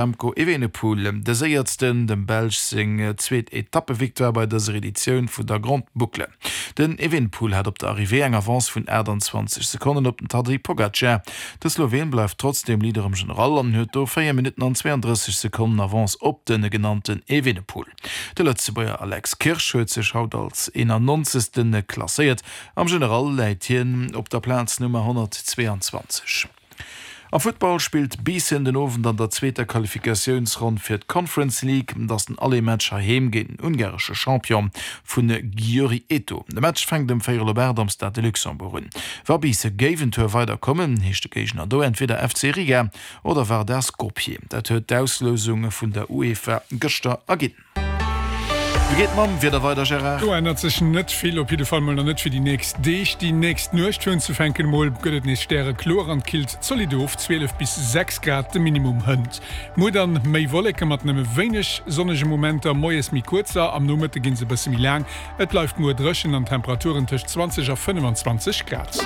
Remco Evenepoel, de Séiersten, dem Belsch seng zweet Etappevictoire bei dëser Editioun vun der Grande Boucle. Den Evenepoel hat op der Arrivée eng Avance vun 28 Sekonnen op den Tadej Pogacar. De Sloween bleift trotzdeem Leader am General an huet do 4 Minutten an 32 Sekonnen Avance op de genannten Evenepoel. De Lëtzebuerger Alex Kirsch huet sech haut als 91. Klasséiert. Am General läit hien op der Plaz Nummer 122. Am Futtball spillt Biissen den Owend an der zweeter Qualifikatiounsronn fir d'Conference League. Et ass den Aller-Match heiheem géint den ungaresche Champion vu Győri Eto. De Match fänkt ëm véierel op 8 am Stade de Luxembourg un. Wa Biisse géif en Tour weider kommen, heescht de Géigner do entweder FC Riga oder Vardar Skopje. Dat huet d'Auslousung vun der UEFA gëschter erginn. Wéi geet mam Wieder weider, Gérard? Do ännert sech net vill, op jidde Fall mol nach net fir déi nächst Deeg. Déi nächst Nuecht fir unzefänken mol gëtt et nees stärekloer an killt zolidd of, 12 bis 6 Grad de Minimum hënt. Muer dann méi Wolleke mat nëmme wéineg sonnege Momenter, moies méi kuerzer, am Nomëtte ginn se e bësse méi laang. Et bleift muer dréchen an Temperaturen tëscht 20 a 25 Grad.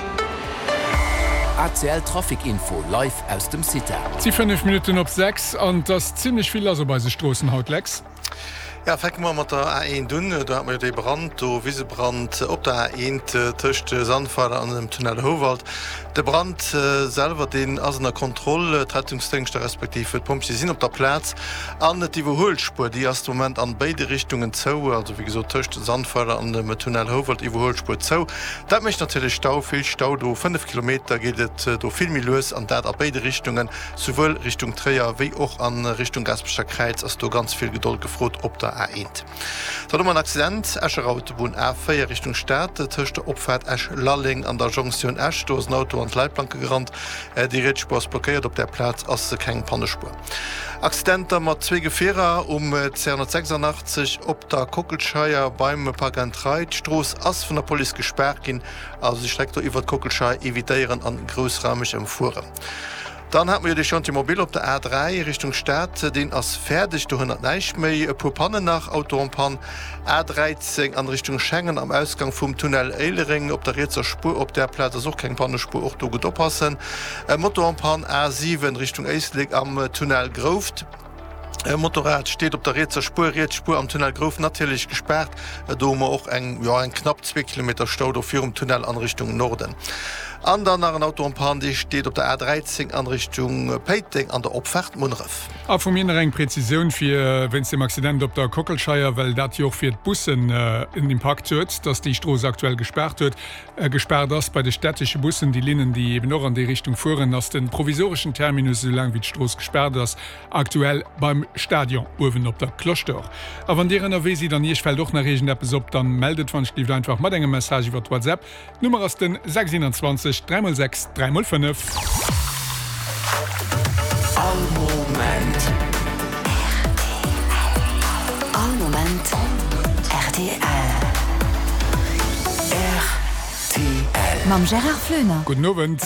ACL Trafic Info live aus dem CITA. Et si 5 Minutten op 6 an et ass zimmlech vill lass op eise Stroossen haut, Lex. Ja, fänke mer mat der A1 un. Do hate mer jo dee Brand do, Wisebrand op der A1 tëscht Sandweiler an dem Tunnel Houwald. De Brand selwer, deen ass ënner Kontroll. D'Rettungsdéngschter respektiv d'Pompjeeë sinn op der Plaz. An d'Iwwerhuelspuer, déi ass de Moment an béide Richtungen zou. Also wéi gesot tëscht Sandweiler an dem Tunnel Houwald Iwwerhuelspuer zou. Dat mécht natierlech Stau, vill Stau do. 5 Kilometer geet et do vill méi lues an dat a béide Richtungen. Souwuel Richtung Tréier wéi och a Richtung Gaasperecher Kräiz ass do ganz vill Gedold gefrot op der A1. Dann hu mer en Accident, Escher Autobunn A4 Richtung Stad, tëscht der Opfaart Esch-Lalleng an der Jonktioun Esch. Do ass en Auto an d'Leitplanke gerannt. Déi riets Spuer ass blockéiert, op där Plaz ass keng Pannespuer. Accidenter mat zwee Gefierer um 286 op der Kockelscheier beim Park and Ride. D'Strooss ass vun der Police gespaart ginn, also déi Streck do iwwert d'Kockelscheier evitéieren an groussraumeg ëmfueren. Dann hat mer jo dee Chantier mobile op der A3 Richtung Stad, deen ass fäerdeg, do hënnert näischt méi. E puer Pannen nach, Auto en panne, A13 an Richtung Schengen am Ausgang vum Tunnel Éilereng op der rietser Spuer, op där Plaz ass och keng Pannespuer, och do gutt oppassen. Moto en panne, A7 Richtung Éislek am Tunnel Grouft. E Motorrad steet op der rietser Spuer, riets Spuer am Tunnel Grouft natierlech gespaart. Do hu mer och eng, jo, eng knapp zwee Kilometer Stau do virum Tunnel an Richtung Norden. An dann nach en Auto en panne, dee steet op der A13 an Richtung Péiteng an der Opfaart Munneref. A vu mir nach eng Präzisioun fir wéinst dem Accident op der Kockelscheier, well dat jo och fir d'Bussen en Impakt huet, dass déi Strooss aktuell gespaart huet, gespaart ass. Bei de städtesche Bussen, déi Linnen, déi eben och an déi Richtung fueren, ass de provisoreschen Terminus, esou laang wéi d'Strooss gespaart ass, Aktuell beim Stadion uewen op der Cloche d'Or. A wann dir ënnerwee sidd an iech fält och nach iergendeppes op, dann mellt et wann ech einfach mat engem Message iwwert WhatsApp. D'Nummer ass den 6 21 3 x 6 3 x 5. All Moment. All Moment rtl. Rtl. Mam Gérard Floener. Gudden Owend.